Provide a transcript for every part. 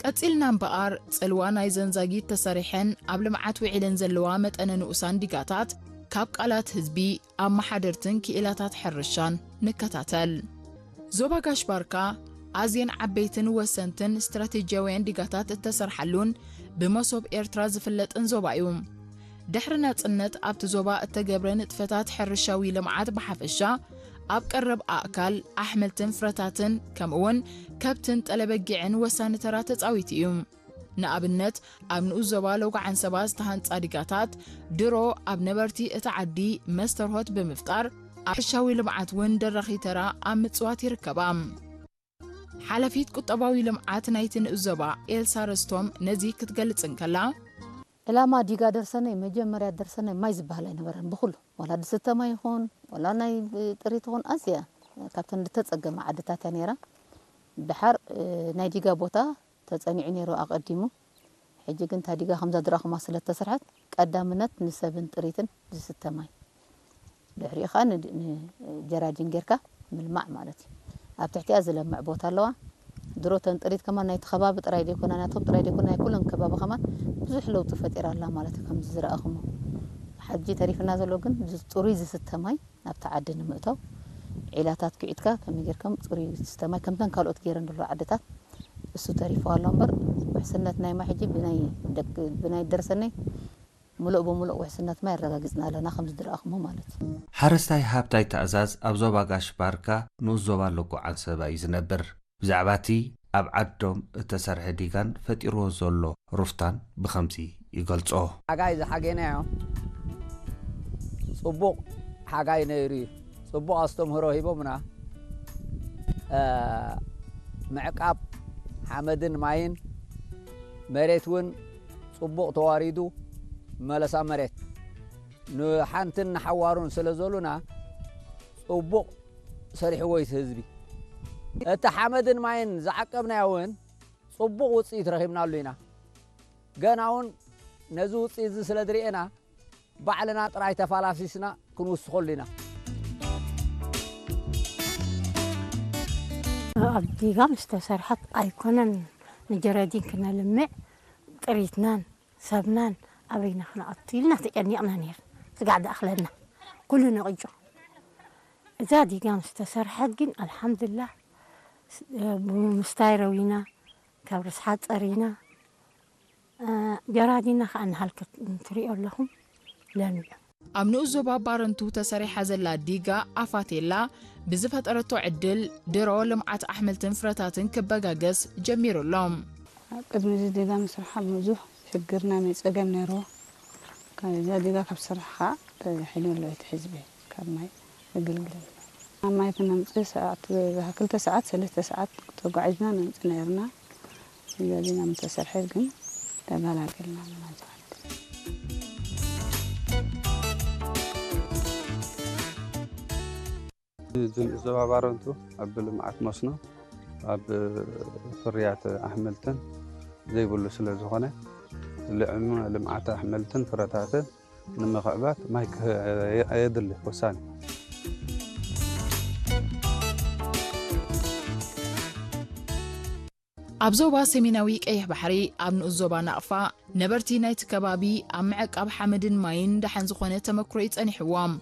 ቀጺልና እምበኣር፣ ጽልዋ ናይ ዘንዛጊት ተሰሪሐን ኣብ ልምዓት ውዒለን ዘለዋ መጠነ ንኡሳን ዲጋታት ካብ ቃላት ህዝቢ፣ ኣመሓደርትን ክኢላታት ሕርሻን ንከታተል። ዞባ ጋሽ ባርካ ኣዝየን ዓበይትን ወሰንትን ስትራቴጂያውያን ዲጋታት እተሰርሓሉን ብመሶብ ኤርትራ ዝፍለጥን ዞባ እዩ። ድሕሪ ናጽነት ኣብቲ ዞባ እተገብረ ንጥፈታት ሕርሻዊ ልምዓት ብሓፈሻ፣ ኣብ ቀረብ ኣእካል፣ ኣሕምልትን ፍረታትን፣ ከምኡውን ከብትን ጠለበጊዕን ወሳኒ ተራ ተጻዊቱ እዩ። ንኣብነት፣ ኣብ ንኡስ ዞባ ሎጋዓን ሰባ ዝተሃንጻ ዲጋታት ድሮ ኣብ ነበርቲ እቲ ዓዲ መስተርሆት ብምፍጣር፣ ኣብ ሕርሻዊ ልምዓት እውን ደራኺ ተራ ኣብ ምጽዋት ይርከባ። ሓላፊት ቁጠባዊ ልምዓት ናይቲ ንኡስ ዞባ ኤልሳ ረስቶም ነዚ ክትገልጽ እንከላ፣ ዕላማ ዲጋ ደርሰነይ፣ መጀመርያ ደርሰነይ ማይ ዝበሃል ኣይነበረን። ብኹሉ፣ ዋላ ዝስተ ማይ ይኹን፣ ዋላ ናይ ጥሪት ይኹን፣ ኣዝያ ካብተን ዝተጸገማ ዓድታት እያ ነይራ። ድሓር፣ እ፣ ናይ ዲጋ ቦታ ተጸኒዑ ነይሩ ኣቐዲሙ። ሕጂ ግን እታ ዲጋ ከምዛ ዝረኣኹማ ስለ እተሰርሐት፣ ቀዳምነት ንሰብን ጥሪትን ዝስተ ማይ፣ ድሕሪኡ ኸኣ ን-፣ ንጀራዲን ጌርካ ምልማዕ ማለት እዩ። ኣብ ትሕቲኣ ዝለምዕ ቦታ ኣለዋ። ድሮ እተን ጥሪት ከማን ናይቲ ከባቢ ጥራይ ዘይኮና፣ ናቶም ጥራይ ዘይኮና፣ ናይ ኩለን ከባቢ ከማን ብዙሕ ለውጢ ፈጢራ ኣላ ማለት እዩ፣ ከምዚ ዝረኣኹሞ። ሕጂ ተሪፍና ዘሎ ግን ዝ-፣ ጽሩይ ዝስተ ማይ ናብቲ ዓዲ ንምእታው፣ ዒላታት ኪዒትካ ከመይ ጌርካ ጽሩይ ዝስተ ማይ ከምተን ካልኦት ገይረን ዘሎ ዓድታት እሱ ተሪፉ ኣሎ እምበር፣ ውሕስነት ናይ ማይ ሕጂ ብናይ ደቂ-፣ ብናይ ደርሰነይ ምሉእ ብምሉእ ውሕስነት ማይ ኣረጋጊጽና ኣለና፣ ከም ዝረኣኹሞ ማለት እዩ። ሓረስታይ ሃብታይ ትእዛዝ ኣብ ዞባ ጋሽ ባርካ ንኡስ ዞባ ሎጎ ዓንሰባ እዩ ዝነብር። ብዛዕባ እቲ ኣብ ዓዶም እተሰርሐ ዲጋን ፈጢርዎ ዘሎ ሩፍታን ብኸምዚ ይገልጾ። ሓጋይ ዝሓጌናዮ ጽቡቕ ሓጋይ ነይሩ እዩ። ጽቡቕ ኣስተምህሮ ሂቦምና። እ፣ ምዕቃብ ሓመድን ማይን፣ መሬት እውን ጽቡቕ ተዋሪዱ፣ መለሳ መሬት ንሓንትን ንሓዋሩን ስለ ዘሉና፣ ጽቡቕ ሰሪሕዎ እዩ እቲ ህዝቢ። እቲ ሓመድን ማይን ዝዓቀብናዮ እውን ጽቡቕ ውጽኢት ረኺብናሉ ኢና። ገና እውን ነዚ ውጽኢት እዚ ስለ ዝርኤና፣ ባዕልና ጥራይ ተፋላሲስና ክንውስኸሉ ኢና። ኣብ ዲጋ ምስ ተሰርሐት ኣይኮነን ንጀረዲን ክነልምዕ፣ ጥሪትናን ሰብናን ኣበይና ክነኣቱ ኢልና ተጨኒቕና ነይርና። ስጋዕ ዝኣኽለና ኩሉ ነቒጹ። እዛ ዲጋ ምስ ተሰርሐት ግን ኣልሓምዱላህ፣ ስ-፣ ብምስታይ ረዊና፣ ካብ ርስሓት ጸሪና፣ እ፣ ጀራዲና ከኣ ንሃልከት እንትሪኦ ኣለኹም ለሚዑ። ኣብ ንኡስ ዞባ ባረንቱ ተሰሪሓ ዘላ ዲጋ ኣፋቴላ ብዝፈጠረቶ ዕድል ድሮ ልምዓት ኣሕምልትን ፍረታትን ክበጋገስ ጀሚሩ ኣሎ። ኣብ ቅድሚ እዚ ዲጋ ምስርሓ ብዙሕ ሽግር ናይ ማይ ጸገም ነይርዎ። ካብ እዛ ዲጋ ካብ ስራሕ ከዓ ተሒኑ ኣሎ እቲ ህዝቢ ካብ ማይ ምግልግል። ኣብ ማይ ክነምጽእ ሰዓት፣ ክልተ ሰዓት፣ ሰለስተ ሰዓት ተጓዒዝና ነምጽእ ነይርና። እዚ ዲጋ ምተሰርሐ ግን ተገላገልና ማለት እዩ። እዚ ንኡስ ዞባ ባረንቱ ኣብ ልምዓት መስኖ፣ ኣብ ፍርያት ኣሕምልትን ዘይብሉ ስለ ዝኾነ፣ ልዕም-፣ ልምዓት ኣሕምልትን ፍረታትን ንምኽዕባት ማይ ክህ-፣ የድሊ ወሳኒ። ኣብ ዞባ ሰሜናዊ ቀይሕ ባሕሪ፣ ኣብ ንኡስ ዞባ ናቕፋ፣ ነበርቲ ናይቲ ከባቢ ኣብ ምዕቃብ ሓመድን ማይን ደሓን ዝኾነ ተመክሮ እዩ ጸኒሕዎም።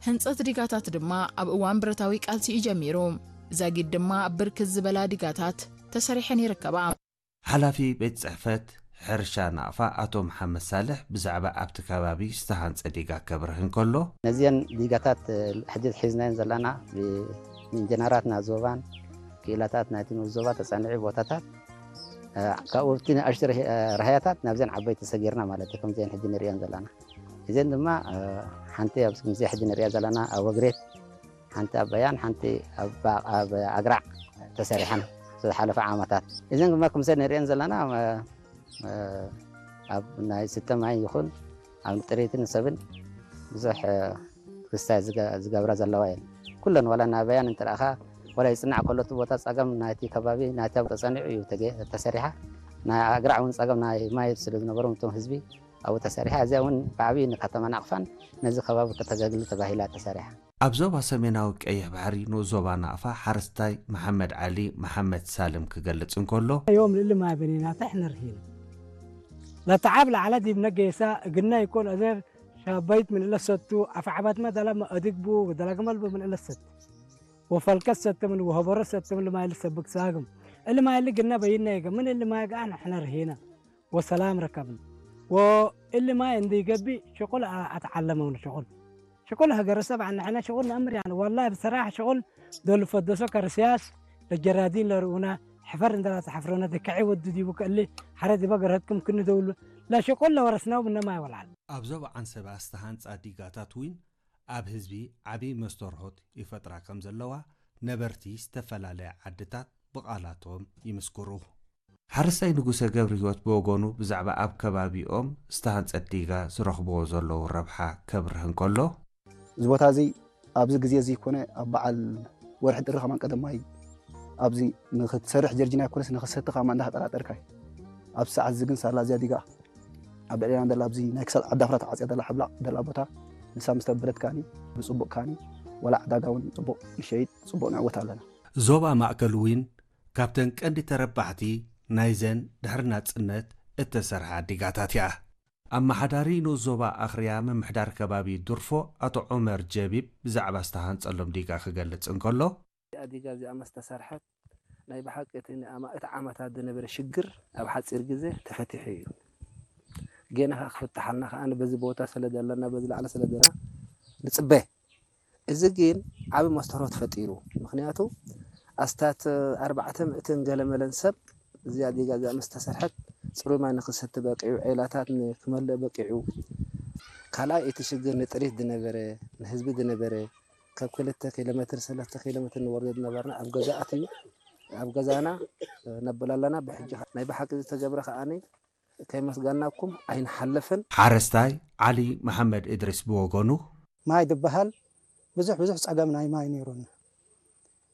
ህንጸት ዲጋታት ድማ ኣብ እዋን ብረታዊ ቃልሲ እዩ ጀሚሩ። ዛጊድ ድማ ብርክት ዝበላ ዲጋታት ተሰሪሐን ይርከባ። ሓላፊ ቤት ጽሕፈት ሕርሻ ናቕፋ ኣቶ መሓመድ ሳልሕ ብዛዕባ ኣብቲ ከባቢ ዝተሃንጸ ዲጋ ከብርህ እንከሎ፣ ነዚአን ዲጋታት፣ እ፣ ሕጂ ሒዝናየን ዘለና ብ-፣ ብኢንጀነራት ናይ ዞባን ክኢላታት ናይቲ ንኡስ ዞባ ተጸኒዑ ቦታታት፣ እ፣ ካብኡ ኣብቲ ንኣሽቱ ርህ-፣ እ፣ ራህያታት ናብዘን ዓበይቲ ሰጊርና ማለት እዩ፣ ከምዚአን ሕጂ ንሪአን ዘለና። እዘን ድማ፣ እ፣ ሓንቲ ኣብዚ ከምዚ ሕጂ ንሪኣ ዘለና ኣብ ወግሬት፣ ሓንቲ ኣብ በያን፣ ሓንቲ ኣብ፣ ኣብ ኣግራዕ ተሰሪሐን ዝሓለፈ ዓመታት። እዘን ድማ ከምዚ ንሪአን ዘለና፣ እ፣ እ፣ ኣብ ናይ ስተ ማይ ይኹን ኣብ ጥሪትን ሰብን ብዙሕ፣ እ፣ ክስታይ ዝገ-፣ ዝገብራ ዘለዋ እየን። ኩለን ዋላ ናይ በያን እንትረኣኻ፣ ዋላ ይጽናዕ ከሎ እቲ ቦታ ጸገም ናይቲ ከባቢ፣ ናይቲ ኣብ ተጸኒዑ እዩ ተገ-፣ ተሰሪሓ። ናይ ኣግራዕ እውን ጸገም ናይ ማይ ስለ ዝነበሮም እቶም ህዝቢ ኣብኡ ተሰሪሓ። እዚኣ እውን ብዓብዪ ንከተማ ናቕፋን ነዚ ከባቢ ከተገልግል ተባሂላ ተሰሪሓ። ኣብ ዞባ ሰሜናዊ ቀይሕ ባሕሪ ንኡስ ዞባ ናቕፋ ሓረስታይ መሓመድ ዓሊ መሓመድ ሳልም ክገልጽ እንከሎ፣ يوم اللي ما بنينا تحنا رهينا. لا تعب لا على دي بنقيسا قلنا يكون أزير شابيت من إلا ستو أفعبات ما دلا ما أدقبو ودلا قمل من إلا ست. وفلكت ست من وهبر ست من لما إلا سبك ساقم. اللي ما اللي قلنا بينا يقى من اللي ما يقى احنا رهينا. وسلام ركبنا. واللي ما عندي قبي شغل أتعلمون شغل. شغل هجر سبع نحن شغلنا أمر يعني والله بصراحة شغل دول فدسو كرسياس للجرادين لرؤونا حفر عندنا تحفرونا دكعي ودو دي بك اللي حرد بقرتكم كن دول لا شغل لورثناه من ما يولعل. ኣብ ዞባ ዓንሰባ ዝተሃንጻ ዲጋታት እውን ኣብ ህዝቢ ዓቢ መስተርሆት ይፈጥራ ከም ዘለዋ ነበርቲ ዝተፈላለያ ዓድታት ብቓላቶም ይምስክሩ። ሓረስታይ ንጉሰ ገብረህይወት ብወገኑ ብዛዕባ ኣብ ከባቢኦም ዝተሃንጸት ዲጋ ዝረኽብዎ ዘለዉ ረብሓ ከብርህ እንከሎ፣ እዚ ቦታ እዚ ኣብዚ ግዜ እዚ ኮነ ኣብ በዓል ወርሒ ጥሪ ከማን ቀደማይ ኣብዚ ንክትሰርሕ ጀርጂና ይኮነስ ንክሰቲ ከማ እንዳተጠራጠርካ እዩ። ኣብ ሰዓት እዚ ግን ሳላ እዚኣ ዲጋ ኣብ ልዕሌና ደላ ኣብዚ ናይ ክሳድ ዓዲ ኣፍራ ተዓፅያ ደላ ሕብላቕ ደላ ቦታ ንሳ ምስ ተበለት ካኒ ብፅቡቕ ካኒ ወላ ዕዳጋ እውን ፅቡቕ ይሸይጥ ፅቡቕ ንዕወት ኣለና። ዞባ ማእከል እውን ካብተን ቀንዲ ተረባሕቲ ናይዘን ድሕሪ ናጽነት እተሰርሓ ዲጋታት እያ። ኣመሓዳሪ ንኡስ ዞባ ኣኽርያ ምምሕዳር ከባቢ ዱርፎ ኣቶ ዑመር ጀቢብ ብዛዕባ ዝተሃንጸሎም ዲጋ ክገልጽ እንከሎ፣ እዚኣ ዲጋ እዚኣ ምስ ተሰርሐት ናይ ብሓቂ እቲ ንኣማ- እቲ ዓመታት ዝነበረ ሽግር ኣብ ሓፂር ግዜ ተፈቲሑ እዩ። ጌና ከዓ ክፍትሓልና ከዓ በዚ ቦታ ስለ ዘለና በዚ ላዕሊ ስለ ዘለና ንፅበ። እዚ ግን ዓቢ መስተርሆት ፈጢሩ። ምኽንያቱ ኣስታት ኣርባዕተ ሚእትን ገለመለን ሰብ እዚኣ ዲጋ እዚኣ ምስ ተሰርሐት ፅሩይ ማይ ንክሰቲ በቂዑ፣ ዔላታት ንክመልእ በቂዑ። ካልኣይ እቲ ሽግር ንጥሪት ዝነበረ ንህዝቢ ዝነበረ ካብ ክልተ ኪሎ ሜትር ሰለስተ ኪሎ ሜትር ንወርዶ ዝነበርና ኣብ ገዛ ኣትዩ ኣብ ገዛና ነብል ኣለና። ብሕጂ ናይ ብሓቂ ዝተገብረ ከዓኒ ከይመስገናኩም ኣይንሓልፍን። ሓረስታይ ዓሊ መሓመድ እድሪስ ብወገኑ፣ ማይ ዝበሃል ብዙሕ ብዙሕ ጸገም ናይ ማይ ነይሩና።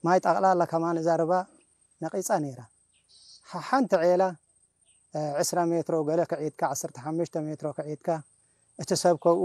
ማይ ጠቕላላ ከማን እዛ ርባ ነቒጻ ነይራ። ሓ- ሓንቲ ዔላ ዕስራ ሜትሮ ገለ ክዒድካ፣ ዓሰርተ ሓሙሽተ ሜትሮ ክዒድካ፣ እቲ ሰብ ከብኡ